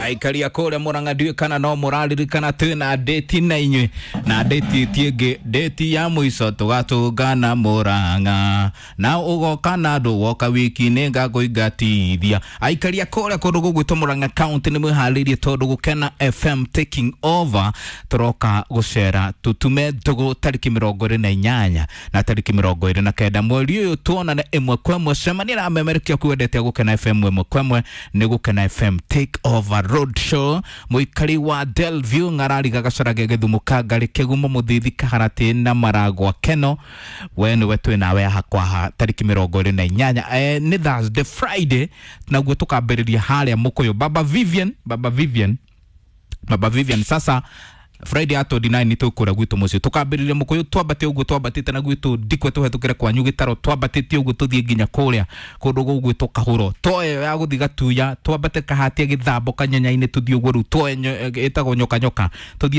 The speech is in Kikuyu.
Aikaria kũrĩa Mũrang'a ndiũĩ kana no mũraririkana twĩna ndĩti na inyuĩ na ndĩti ti ĩngĩ, ndĩti ya mũico tũgatũngana Mũrang'a na ũgoka na andũ woka wiki nĩ ngakũingatithia. Aikaria kũrĩa kũndũ gũgwĩtwo Mũrang'a County nĩ mwĩharĩirie tondũ Gũkena FM taking over tũroka gũcera tũtume ndũgũ tarĩki 28 na tarĩki 29 mweri ũyũ, tuonane ĩmwe kwa ĩmwe. Cemania na amemerekia kwendete Gũkena FM ĩmwe kwa ĩmwe nĩ Gũkena FM take over road show. Mũikari wa Delview, Ng'arariga, Gacarage, Gĩthumo, Kangarĩ, Kĩgumo, Mũthithi, Kaharatĩ na Maragwa Keno, we nĩwe twĩ nawe haha kwaha tarĩki 28, nĩ Thursday Friday, naguo tũkambĩrĩria harĩa Mũkũyũ. Baba Vivian, Baba Vivian, Baba Vivian, sasa Friday ya 29 nĩ tũkũra gwitũ mũciĩ, tũkambĩrĩria Mũkũyũ, twambate ũguo twambatĩte na gwitũ Ndikwe, tũhetũkĩre kwanyu Gĩtaro, twambatĩte ũguo tũthiĩ nginya kũrĩa kũndũ gũgwĩtwo Kahũro, twoe ya gũthiĩ Gatuya, twambate Kahatia, Gĩthambo, Kanyanya-inĩ, tũthiĩ ũguo rĩu twoe ĩtagwo Nyoka Nyoka, tũthiĩte.